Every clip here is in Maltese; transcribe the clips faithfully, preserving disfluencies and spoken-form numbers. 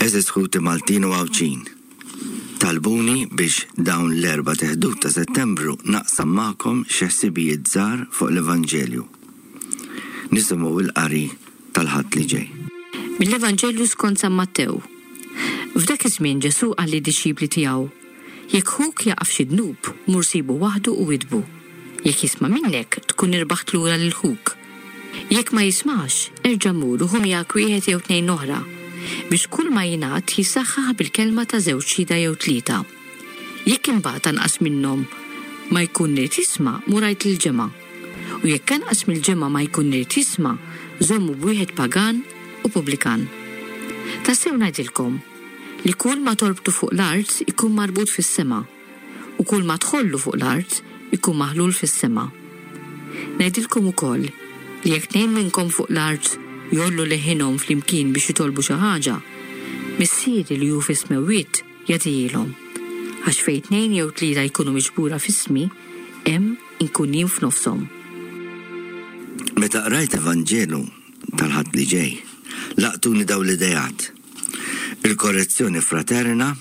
Għeżież ħuti Maltin u Għawdxin, talbuni biex dawn l-erbat Ħdud ta' Settembru naqsam magħkom xi ħsibijiet żgħar fuq l-Evanġelju. Nisimgħu l-qari tal-Ħadd li ġej. Mill-Evanġelju skont San Mattew. F'dak iż-żmien Ġesù qal lid-dixxipli tiegħu: Jekk ħuk jaqa' f'xi dnub, mur sibu waħdu u widdbu. Jekk jisma' minnek, tkun irbaħt lura lil ħuk. Jekk ma jismax, erġa' mur u ħu miegħek wieħed jew tnejn oħra, biex kull ma jingħad jissaħħaħ bil-kelma ta' żewġ xhieda jew tlieta. Jekk imbagħad anqas minnhom ma jkun irid jisma', mur għid lill-ġemgħa. U jekk anqas mill-ġemgħa ma jkun irid jisma', żommu b'wieħed pagan u pubblikan. Tassew ngħidilkom li kull ma torbtu fuq l-art ikun marbut fis-sema, u kull ma tħollu fuq l-art ikun maħlul fis-sema. Ngħidilkom ukoll li jekk tnejn minnkom fuq l-art jgħollu leħinhom flimkien biex jitolbu xi ħaġa, Missieri li hu fis-smewwiet jagħtihielhom. Għax fejn tnejn jew tlieta jkunu miġbura f'ismi, hemm inkun jien f'nofshom. Meta qrajt Evanġelu tal-Ħadd li ġej, laqtuni dawn l-ideat. Il-korrezzjoni fraterna,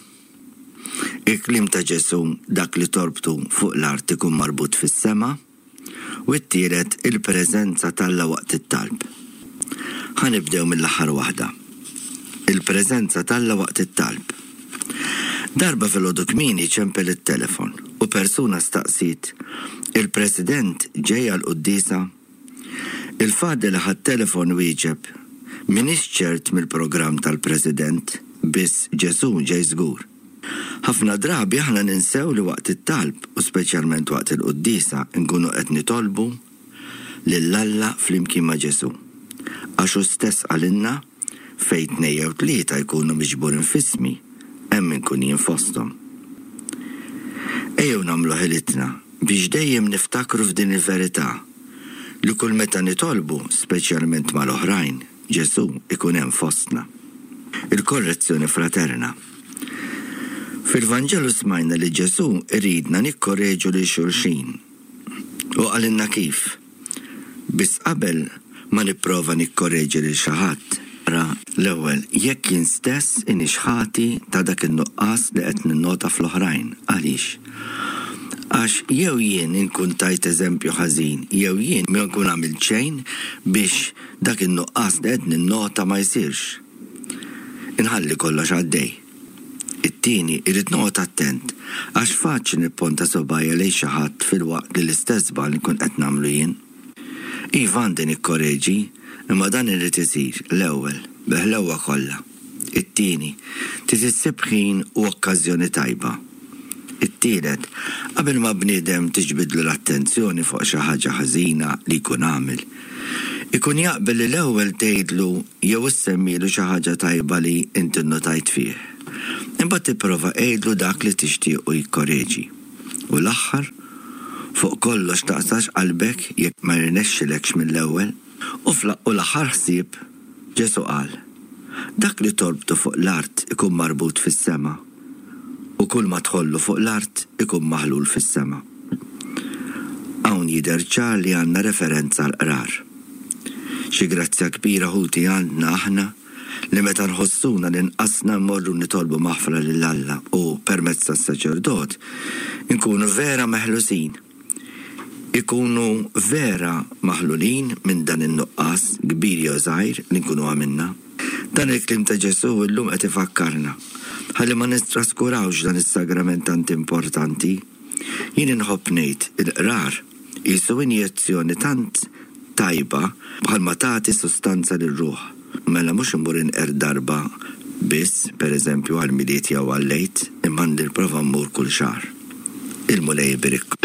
il-kliem ta' Ġesù dak li torbtu fuq l-art ikun marbut fis-sema, u t-tielet il-preżenza t'Alla waqt it-talb. Ħa nibdew mill-aħħar waħda. Il-preżenza t'Alla waqt it-talb. Darba filgħodu kmieni ċempel it-telefon u persuna staqsiet: "Il-President ġej għall-quddiesa?" Il-father li ħa t-telefon wieġeb: "M'iniex ċert mill-programm tal-President, biss Ġesù ġej żgur." Ħafna drabi aħna ninsew li waqt it-talb u speċjalment waqt il-quddiesa nkunu qed nitolbu lil Alla flimkien ma' Ġesù. Għax hu stess qalilna: "Fejn tnejn jew tlieta jkunu miġburin f'ismi, hemm inkun jien fosthom." Ejjew nagħmlu ħilitna biex dejjem niftakru f'din il-verità li kull meta nitolbu, speċjalment mal-oħrajn, Ġesù ikun hemm fostna. Il-korrezzjoni fraterna. Fil-Vanġelu smajna li Ġesù iridna nikkoreġu lil xulxin. U qalilna kif. Biss qabel ma nipprova nikkoreġi lil xi ħadd, ra l-ewwel jekk jien stess iniex ħati ta' dak in-nuqqas li qed ninnota fl-oħrajn. Għaliex? Għax jew jien inkun tajt eżempju ħażin, jew jien ma nkun għamilt xejn biex dak in-nuqqas li qed ninnota ma jsirx. Inħalli kollox għaddej. It-tieni, irrid noqgħod attent għax faċli nipponta subgħajja lejn xi ħadd filwaqt li l-istess żball nkun qed nagħmlu jien. Iva, għandi nikkoreġi, imma dan irid isir l-ewwel bil-ħlewwa kollha. It-tieni, trid issib ħin u okkażjoni tajba. It-tielet, qabel ma bniedem tiġbidlu l-attenzjoni fuq xi ħaġa ħażina li jkun għamel, ikun jaqbel li l-ewwel tgħidlu jew issemmilu xi ħaġa tajba li inti nnotajt fih. Imbagħad tipprova għidlu dak li tixtiequ jikkoreġi. U l-aħħar, fuq kollox taqtax qalbek jekk ma jirnexxilekx mill-ewwel. U l-aħħar ħsieb, Ġesù qal: "Dak li torbtu fuq l-art ikun marbut fis-sema, u kull ma tħollu fuq l-art ikun maħlul fis-sema." Hawn jidher ċar li għandna referenza għall-qrar. Xi grazzja kbira, ħuti, għandna aħna li meta nħossuna li nqasna mmorru nitolbu maħfra lil Alla u permezz tas-saċerdot inkunu vera meħlusin. Ikunu vera maħlulin minn dan in-nuqqas kbir jew żgħir li nkunu għamilna. Dan il-kliem ta' Ġesù illum qed ifakkarna ħalli ma nitraskurawx dan is-sagrament tant importanti. Jien inħobb ngħid il-qrar qisu injezzjoni tant tajba bħalma tagħti sustanza lir-ruħ. Mela mhux immur inqer darba biss, pereżempju għall-Milied jew għall-Għid, imma nipprova mmur kull xahar. Il-Mulej iberikkom.